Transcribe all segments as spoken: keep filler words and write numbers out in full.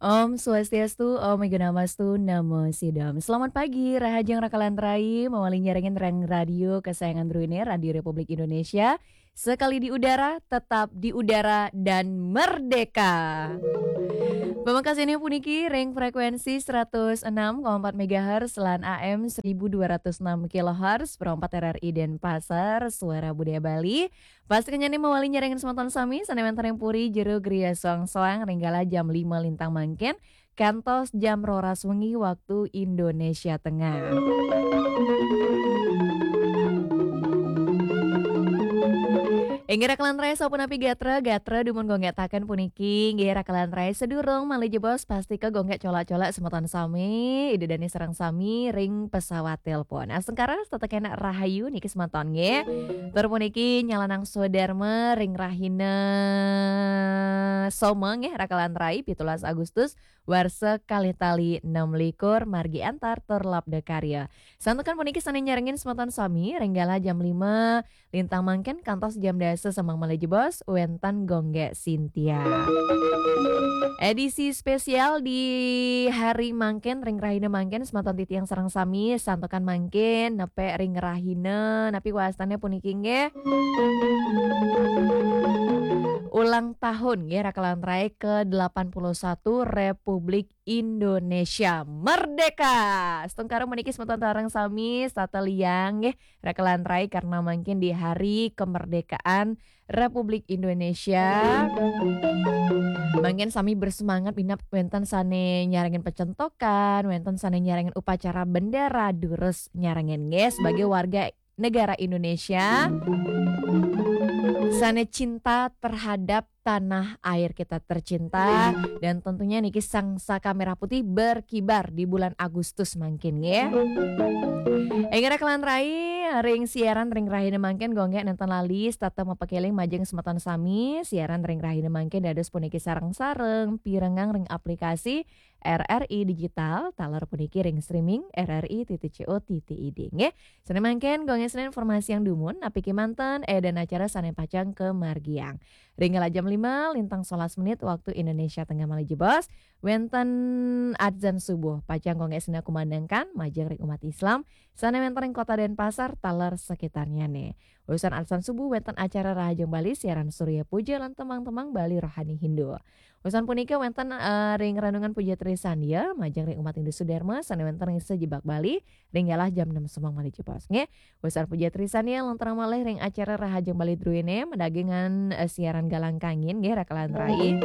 Om Swastiastu, Om Awighnamastu, Namo Siddham. Selamat pagi, rahajeng rakalan rai, mawali nyarengin rang radio kesayangan druene, Radio Republik Indonesia. Sekali di udara, tetap di udara, dan merdeka. Pamekasannya puniki ring frekuensi seratus enam koma empat megahertz lan A M seribu dua ratus enam kilohertz, Pro empat R R I Denpasar, Suara Budaya Bali. Pastikan nyane mawali nyarengin semeton sami, sane wenten ring puri, jero, griya, soang-soang, ring galah jam lima lintang mangkin, kantos jam roras wengi waktu Indonesia Tengah. Inggih rakalan rai, sapunapi gatra, gatra dumun gonggetaken puniki, inggih rakalan rai, sedurung malih jebos, pastika gonggek colak-colak semeton sami, Ida Dane sareng sami ring pesawat telepon. Astungkara setata kenak rahayu niki semeton nggih. Tur puniki nyalanang swadarma ring rahina Soma nggih rakalan rai, pitulas Agustus, warsa kalih tali enam likur, margi antar tur labda karya. Santukan puniki sane nyarengin semeton sami ring galah jam lima lintang mangkin kantos jam dasa semeng malih jebos, wenten gonggek Sintia. Edisi spesial di hari mangkin, ring rahina mangkin, semeton titiang sareng sami, santukan mangkin, nepek ring rahina, napi wastane puniki nggih? Ulang tahun nggih, rakalan rai ke delapan puluh satu Republik Indonesia Merdeka. Astungkara puniki semeton sareng sami, setata liang nggih, rakalan rai, karena mangkin di hari kemerdekaan Republik Indonesia. Mangkin sami bersemangat minab wenten sane nyarengin pecentokan, wenten sane nyarengin upacara bendera, durus nyarengin nggih sebagai warga negara Indonesia sane cinta terhadap tanah air kita tercinta, dan tentunya niki sang saka merah putih berkibar di bulan Agustus mangkin nggih. Inggih rakalan rai, ring siaran ring rahina mangkin gonggek nenten lali setata mapakeling majeng semeton sami, siaran ring rahina mangkin dados puniki sareng-sareng pirengang ring aplikasi R R I Digital, taler puniki ring streaming R R I titik C O titik I D nggih. Sane mangkin gonggek sane informasi yang dumun, napi kemanten, eh, dan acara sane pacang kamargiang. Ring galah jam lima lintang solas menit waktu Indonesia Tengah malih jebos, wenten adzan subuh, pacang gonggek sane kumandangkan majeng ring umat Islam sane wenten ring Kota Denpasar taler sekitarnyane. Usan adzan subuh wenten acara Rahajeng Bali, siaran Surya Puja lan tembang-tembang Bali rohani Hindu. Usan punika wenten, eh, ring renungan Puja Trisandya majeng ring umat Hindu Sudarma sane wenten ring sejebak Bali, ring galah jam enam semeng malih jebos nggih. Usan Puja Trisandya lanturang malih ring acara Rahajeng Bali druene, madaging, eh, siaran Galang Kangin nggih rakalan rai.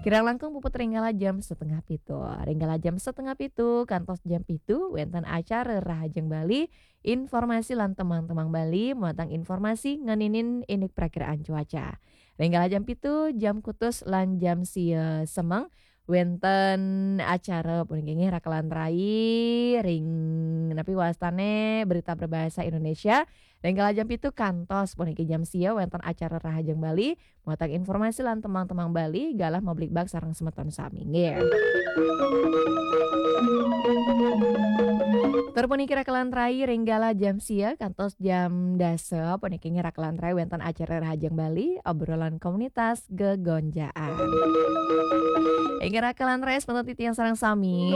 Kirang langkung puput ring galah jam setengah pitu. Ring galah jam setengah pitu kantos jam pitu wenten acara Rahajeng Bali, informasi lan tembang-tembang Bali, muatang informasi ngeninin indik prakiraan cuaca. Ring galah jam pitu, jam kutus lan jam sia semeng, wenten acara puniki nggih rakalan rai ring napi wastane berita berbahasa Indonesia. Ring galah jam pitu kantos puniki jam sia wenten acara Rahajeng Bali, muatang informasi lan tembang-tembang Bali, galah mablikbak sareng semeton sami nggih. Tur puniki rakalan rai ring galah jam sia kantos jam dasa puniki nggih rakalan rai wenten acara Rahajeng Bali, obrolan komunitas gegonjaan. Inggih rakalan rai semeton titiang sareng sami.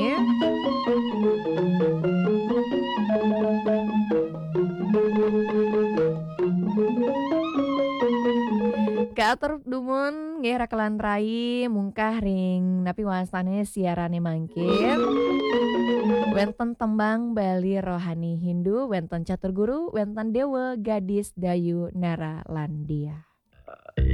Kaatur dumun nggih rakalan rai mungkah ring napi wastane siarane mangkin. Wenten tembang Bali rohani Hindu, wenten catur guru, wenten dewa, gadis, dayu, nara, lan dia.